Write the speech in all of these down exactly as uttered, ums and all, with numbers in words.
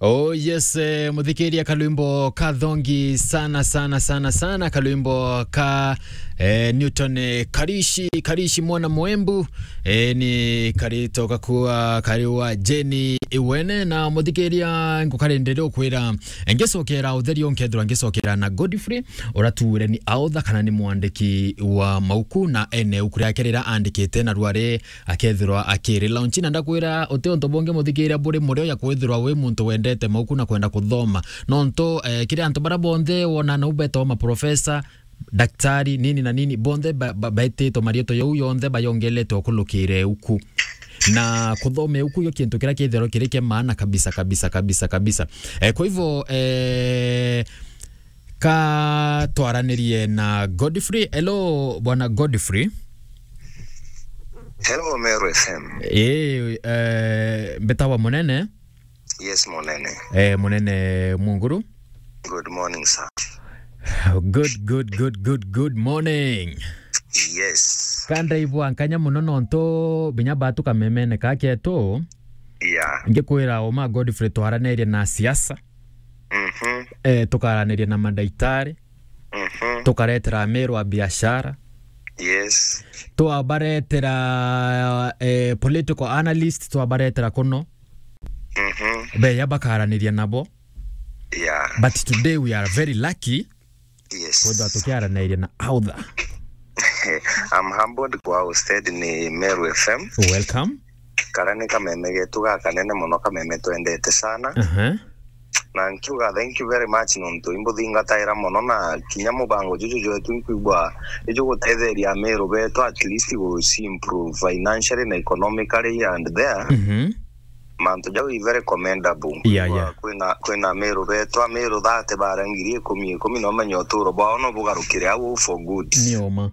Oh yes, eh, muthikiria, kalwimbo ka thongi sana sana sana sana, kalwimbo ka eh, Newton eh, Karishi, Karishi mwana Mwembu, eh, ni karito gakua kari wa Jeni Iwene. Na muthikiria, ngukarendere ukwira, ngicokera utheri, nkethirwa ngicokera na Godfrey uratuure ni author kana ni mwandiki wa mauku, na ene uku riake rira andikite na rwari akethirwa akiri launch. Na ndakwira, uti untu bungi muthikiria buri murio ya kwithirwa wi muntu wendete mauku na kwenda kuthoma, nontu eh, kiri antu bara bonthe wona nau betagwa maprofesa, daktari, nini na nini, bonthe ba- ba- baititwe marietwa jau yonthe bayongeletwe ukulukire uku. Na kuthoma uku yo kintu kiria kithero kiri kia maana kabisa kabisa kabisa kabisa. Eh, kwa hivyo eh, ka twaranirie na Godfrey. Hello bwana Godfrey. Hello, Meru F M. Eh, eh, mbetawa Munene. Yes, Munene. Eh, Munene Munguru. Good morning, sir. Good, good, good, good, good morning. Yes. Ka ndaigua nkanya muno nontu binya batu kamemene ka ketu. Yeah. Ngikwira uma Godfrey twaranirie na siasa. Mhm. Eh, tukaraniria na madaitari. Mhm. Tukaretera Ameru a biashara. Yes. Twabaretera eh, political analyst, twabaretera kuno. Mhm. Beya bakaraniria nabo. Yeah. But today we are very lucky. Yes. Kwethwa tukiaranairia na author. I'm humbled kwa hosted ni Meru F M. Welcome. Kara ni kameme getu gakanene muno, kameme twendete sana. Aha. Na nkiuga thank you very much nontu imbuthingataira muno, na kinya mubango juju jwetu nkwigua ijugutetheria Ameru betu at least gu improve financially na economically and there. Mhm. Mantu jau i very commendable. Yeah, yeah. Kwina, kwina Ameru betu, Ameru thirty bara ngiri ikumi ikumi, no menye uturo bwao no bugarukire au for good. Ni uma.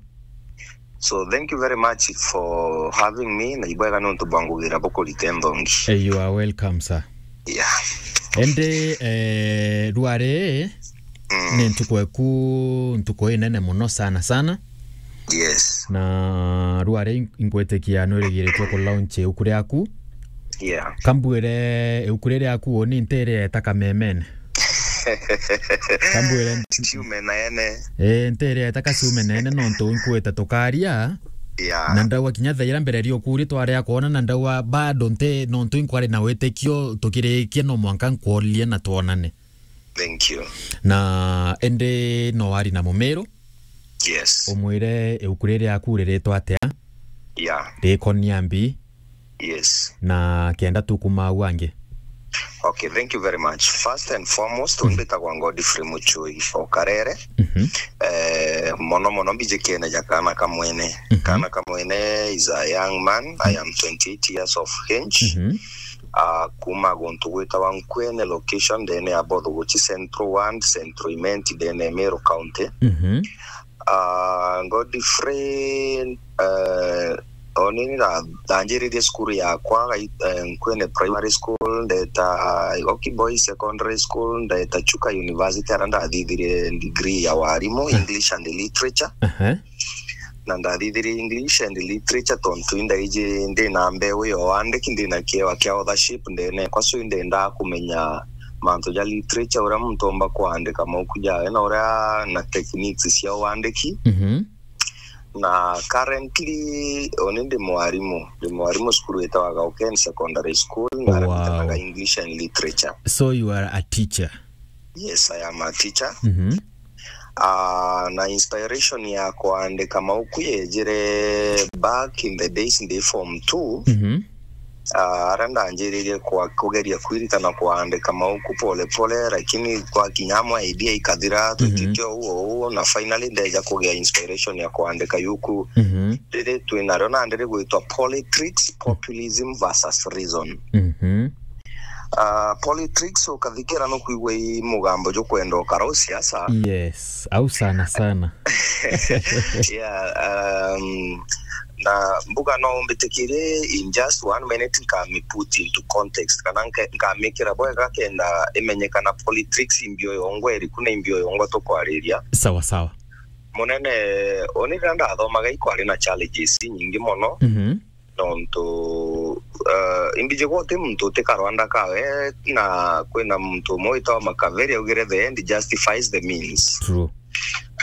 So thank you very much for having me, na ibwega nontu bwa ngugira bukurite nthongi. Eh, you are welcome, sir. Yeah. Ende eh, rware Mm. Ni ntuku eku, ntuku inene muno sana sana. Yes. Na rware in- inkwitikia nwirigiritwe ku launch iuku riaku. Yeah. Kambwire iuku riri riaku uni ntiria eta kamemene. Kambwire ntiume nene. Eh, ntiria eta kaciume nene nontu inkwite tukaria. Yeah. Na ndauga kinya thaira mbere ria ukuri twaria kwona na ndauga bado nti nontu inkwari na witikio tukirikia no mwanka nkworie na twonane. Thank you. Na indi no wari na Mumiru? Yes. Umwire iuku riri aku riritwa atia? Yeah. Rikonia mbi? Yes. Na kenda tukuma au angi. Okay, thank you very much. First and foremost, mm, mbitagwa Godfrey Muchui o Karere. Mhm. Eh, mono mono mbijikene ja kana kamwene. Mhm. Kana kamwene is a young man. I am twenty-eight years of age. Mhm. Ah, kuma guntu gwitawa Nkwene location ndene ya Bothoguchi Central Ward, Central Imenti ndene ya Meru County. Mhm. Ah, Godfrey, eh, onini na ndanjiririe cukuru yakwa gai- eh, Nkwene Primary School, ndeta Igoki Boys Secondary School, ndeta Chuka University, ara ndathithirie degree ya warimu, English and Literature. Aha. Na ndathithirie English and Literature tontu indaiji ndi na mbeu ya uandiki, ndi na kiewa kia authorship ndene yakwa, so indendaa kumenya mantu ja literature, uria muntu omba kuandika mauku jawe, na uria na techniques cia uandiki. Mhm. Na currently, oni ndi mwarimu, ndi mwarimu cukuru itawa Gauken Secondary School, na Wow. arabitanaga English and Literature. So you are a teacher? Yes, I am a teacher. Mhm. Ah, na inspiration ya kuandika mauku yejire back in the days ndi form two. Mhm. Ah, ara ndanjiririe kwa kugeria kwirita na kuandika mauku pole pole, lakini kwa kinya amwe idea ikathira, mhm, twikite uu uu, na finally ndeja kugia inspiration ya kuandika yuku, mhm, riri twinario nandi rigwitwa Politics, Populism versus Reason. Mhm. Ah, politics ukathikira nukwigua i mugambo jukwenda ukara u siasa. Yes, au sana sana. Yeah, um, na mbuga no umbitikirie in just one minute nkami put into context, kana nke- nkamikira bwega kenda imenyekana politics imbio yongwa iriku na imbio yongwa tukwariria. Sawa sawa. Munene, uni riria ndathomaga ikwari na challenges nyingi muno. Mhm. Nontu uh, imbijigwa uti muntu utikarwanda kawe, na kwina muntu umwe witawa Makaveri augire the end justifies the means. True.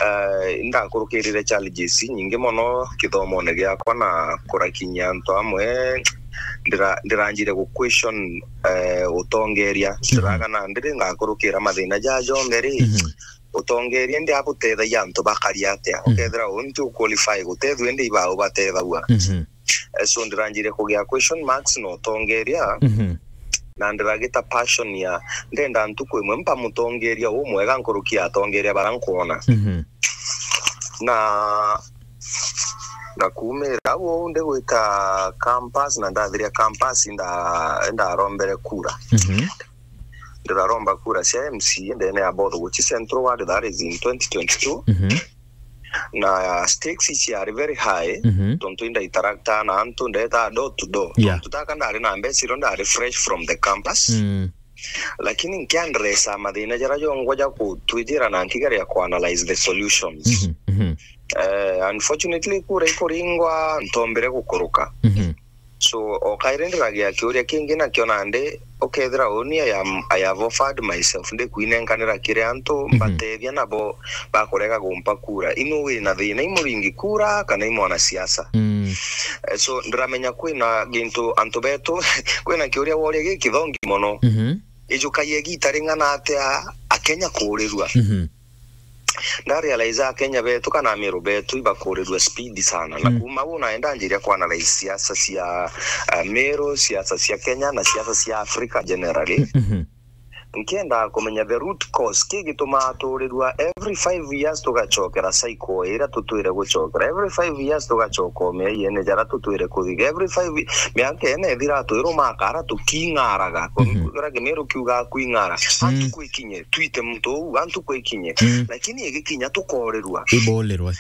Uh, indakurukirire challenges nyingi mono kithomone giakwa na kurakinyia antu amwe. Ndira- ndiranjire gu question uh, utongeria, ndiraga na ndiri ngakurukira mathina ja jonthe ri, Mhm. utongeria ndi abutethagia antu bakaria atia? Ukethira uu nti uqualify gutethua ndi ibau batethagua. Mhm. Eh, so ndiranjire kugia question marks na utongeria, Mhm. na ndiragita passion ya ndenda ntuku imwe mpa mutongeria umwega nkuruki ya atongeria bara nkwona. Mhm. Na na kumira au uu ndigwita campus, na ndathiria campus nda- ndarombere kura. Mhm. Ndiraromba kura cia M C A ndene ya Both Guchi Central Ward, that is in twenty twenty-two. Mhm. Na stakes ciari very high, Mhm. tontu inda interacta na antu ndeta door to door. Yeah. Tontu taka ndari na mbeca irio ndari fresh from the campus. Mm. Lakini nkiandresa mathina jara jongwa ja kutwijira na nkigeria kuanalyze the solutions. Mhm. Mhm. Eh, unfortunately kura ikuringwa ntombire gukuruka. Mhm. So o kairi ndiragia kiuria kingi nakio nandi, ukethira uni I am, I have offered myself ndikwinenkanira kiri antu mbatethia nabo bakurega gumpa kura. Inu wina thina i muringi kura kana i mwanasiasa? Mm. Eh, so ndiramenya kwina gintu antu betu kwina kiuria woria gikithongi mono. Mhm. Ijukagia igita ring'ana atia Akenya kuurirua? Mhm. Ndarealize Akenya betu kana Amiru betu ibakuurirua speed sana. Na Mm. kuma u naenda njiria kuanalyze siasa cia uh, Meru, siasa cia Kenya na siasa cia Africa generally. Mhm. Nkienda kumenya the root cause ki gitumaa tuurirua every five years tugacokera cycle iria tutwire gucokera, every five years tugacoka umeeyene jara tutwire kuthiga, every five miaka ene ithira twirumaka ara tuking'araga. Kwira Kimiru kiuga kwing'ara, antu kwikinye twite muntu uu, antu kwikinye. Lakini igikinya tukorirua. Ibolerwa.